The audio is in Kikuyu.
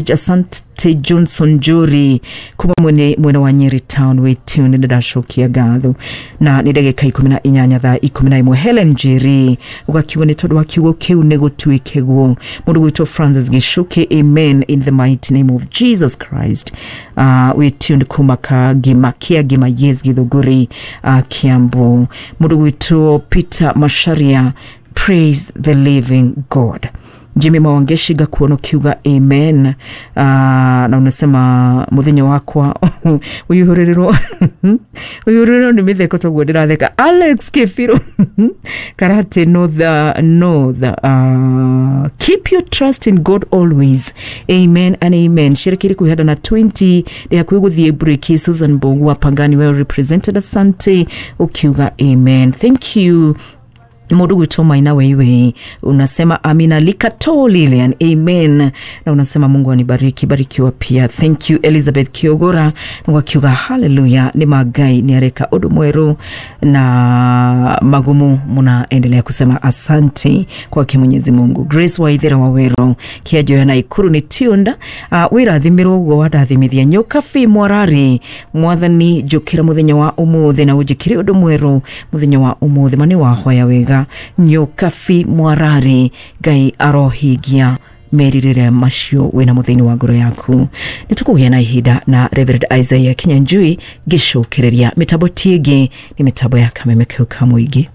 Asante Johnson Njuri kuma mwene mwena wa Nyeri Town wĩ tune. Nĩ ndacokia ngatho na nĩ ndagĩka 18 thaa 11. Helen Njeri ũgakiuga nĩ tondũ wa kiugo kĩu nĩ gũtuĩke guo. Mũndũ gwĩtwo Francis Gĩcuki, amen in the mighty name of Jesus Christ. Wĩ tuned kuma Kagima kia Gima, yes, Githũngũri, Kiambu. Mũndũ gwĩtwo Peter Masharia, praise the living God. Jimmy Mawangeshi gakuona ukiuga amen, na unasema muthenya wakwa uyuhurirwo uyuhurirwo ni mitheko toguo ndiratheka. Alex Kefiro Karate North, North, keep your trust in God always, amen and amen. Sherekeri kwihanda na 20 ndi hakuhi guthie break. Susan Mbogu wa Pangani, well represented, asante, ukiuga amen, thank you. Mundu gwitwo Maina Weiwe unasema amina. Likato Lilian, amen, na unasema Mungu anibariki, barikiwa pia, thank you. Elizabeth Kiogora na wakiuga haleluya, ni magai ni areka undu mweru na magumu, munaendelea kusema asante kwake Mwenyezi Mungu. Grace Waithera Wawero kiajoya na Ikuru ni tiunda, wirathimirwo uguo wandathimithia. Nyoka fi Mwarari, mwathani njukira muthenya wa umuthi na unjikire undu mweru muthenya wa umuthi, ma ni wahoya wega. Nyoka fi Mwarari, Ngai arohingia meririre macio wina muthini wa ngoro yaku. Nĩ tũkũgĩa na ihinda na Reverend Isaiah Kinyanjui ngĩcokereria mĩtambo tiĩngĩ nĩ mĩtambo ya kameme kau ka mũingĩ.